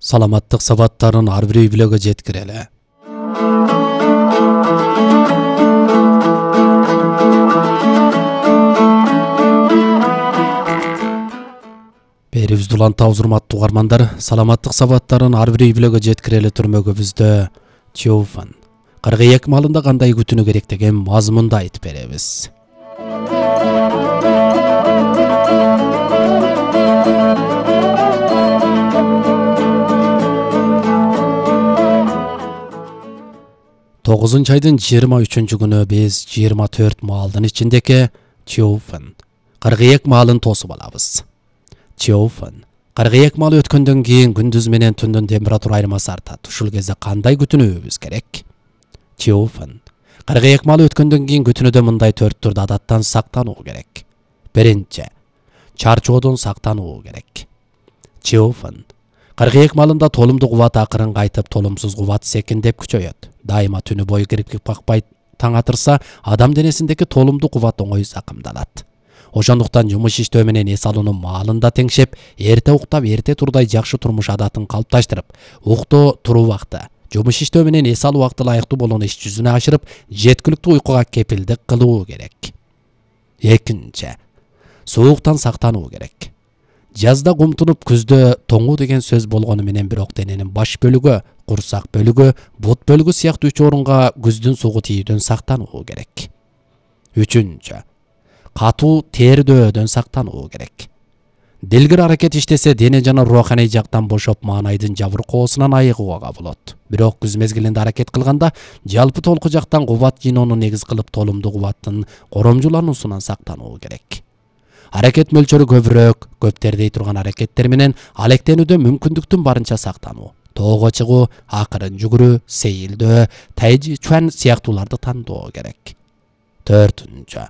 саламаттык сабаттарын ар бир үй-бүлөгө жеткирели. Берибизди улантабыз, урматтуу угармандар. Саламаттык сабаттарын ар бир үй-бүлөгө жеткирели түрмөгүбүздө Теофан 42 малында кандай күтүнү керек деген мазмунду айтып беребиз. Айдын 23 күнү биз 24 маалдын ичиндеки Теофан 42 маалын тосуп алабыз. Теофан 42 маал өткөндөн кийин күндүз менен түндүн температура айырмасы артат. Ушул кезде кандай күтүнүүбүз керек? Теофан 42 маал өткөндөн кийин күтүнүүдө мындай 4 түрдүү адаттан сактануу керек. Биринчи, чарчоодон сактануу керек. Теофан 42 маалында толумдуу кубат акырын кайтып, толумсуз кубат секиндеп күчөйөт. Дайыма түнү бою кирип бакпай таң атырса, адам денесиндеги толумдуу кубат оңой закымдалат. Ошондуктан жумуш иштөө менен эс алуунун маалында теңшеп, эрте уктап, эрте турдай жакшы турмуш адатын калыпташтырып, уктоо туруу убакты, жумуш иштөө менен эс алуу убакты ылайыктуу болгон иш жүзүнө ашырып, жеткиликтүү уйкуга кепилдик кылуу керек. Экинчи, сууктан сактануу керек. Жазда кумтунуп, күздө тоңуу деген сөз болгону менен бирок дененин баш бөлүгү, курсак бөлүгү, бут бөлүгү сыяктуу 3 орунга күздүн сугу тийүүдөн сактануу керек. Үчүнчү, катуу тердөөдөн сактануу керек. Делгир аракет иштесе, дене жана руханий жактан бошоп, маанайдын жабыркоосунан айыгууга болот. Бирок күз мезгилинде аракет кылганда, жалпы толку жактан кубат жиноону негиз кылып, толумдуу кубаттын коромжулануусунан сактануу керек. Аракет мөлчөрү көбүрөөк, көп тердей турган аракеттер менен алектенүүдө мүмкүндүктүн барынча сактануу. Тоого чыгуу, акырын жүгүрүү, сейилдөө, тайжи чуан сыяктууларды тандоо керек. Төртүнчү,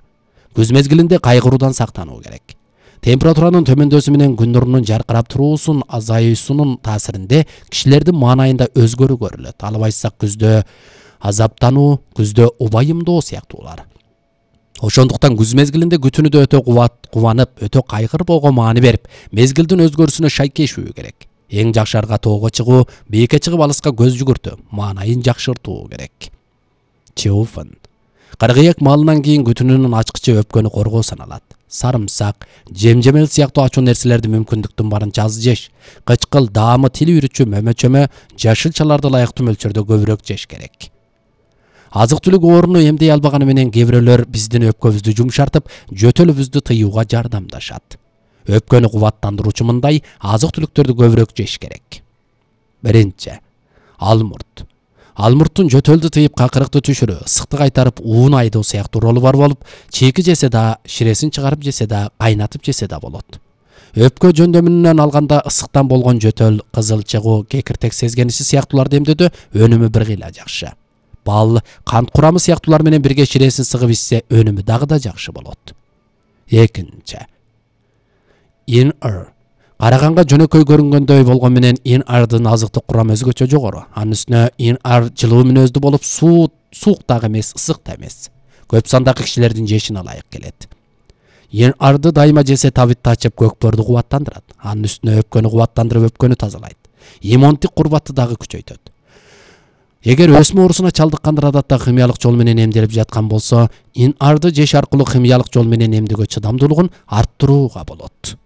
күз мезгилинде кайгыруудан сактануу керек. Температуранын төмөндөөсү менен күн нурунун жаркырап туруусунун азайуусунун таасиринде кишилердин маанайында өзгөрүү көрүлөт. Албайса күздө азаптануу, күздө убайымдоо сыяктуулар. Ошондуктан күз мезгилинде күтүнүүдө өтө кубанып, өтө кайгырбоого маани берип, мезгилдин өзгөрүүсүнө шайкешүү керек. Эң жакшарга тоого чыгуу, бийикке чыгып алыска көз жүгүртүү, маанайын жакшыртуу керек. Теофан 42 маалынан кийин күтүнүүнүн ачкычы өпкөнү коргоо саналат. Сарымсак, жемжемел сыяктуу ачуу нерселерди мүмкүндүктүн барынча аз жеш. Кычкыл, даамы, тил үйрүчү, мөмөчөмө, жашылчаларды ылайыктуу мөлчөрдө көбүрөөк жеш керек. Азык-түлүк орунду эмдей албаганы менен кээ бирөөлөр биздин өпкөбүздү жумшартып, жөтөлүбүздү тыюуга жардамдашат. Өпкөнү кубаттандыруучу мындай азык-түлүктөрдү көбүрөөк жеш керек. Биринчи, алмурт. Алмурттун жөтөлдү тыйып, какырыкты түшүрүү, ысыкты кайтарып, уун айдоо сыяктуу ролу бар болуп, чийки жесе да, ширесин чыгарып жесе да, кайнатып жесе да болот. Өпкө жөндөмүнөн алганда ысыктан болгон жөтөл, кызыл чыгуу, кекиртек сезгениши сыяктууларды эмдөөдө өнүмү бир кыйла жакшы. Бал, кант курамы сыяктуулар менен бирге ширесин сыгып ичсе, өнүмү дагы да жакшы болот. Экинчи, ин-ар. Караганга жөнөкөй көрүнгөндөй болгон менен ин-ардын азыктык курамы өзгөчө жогору. Анын үстүнө ин-ар жылуу мүнөздүү болуп, суук дагы эмес, ысык да эмес. Көп сандагы кишилердин жешине ылайык келет. Ин-арды дайыма жесе табитти ачып, көкпөрдү кубаттандырат. Анын үстүнө өпкөнү кубаттандырып, өпкөнү тазалайт. Иммундук курбатты дагы күчөйтөт. Эгер өсмө оорусуна чалдыккандар адатта химиялык жол менен эмделип жаткан болсо, ин-арды жеш аркылуу химиялык жол менен эмдөөгө чыдамдуулугун арттырууга болот.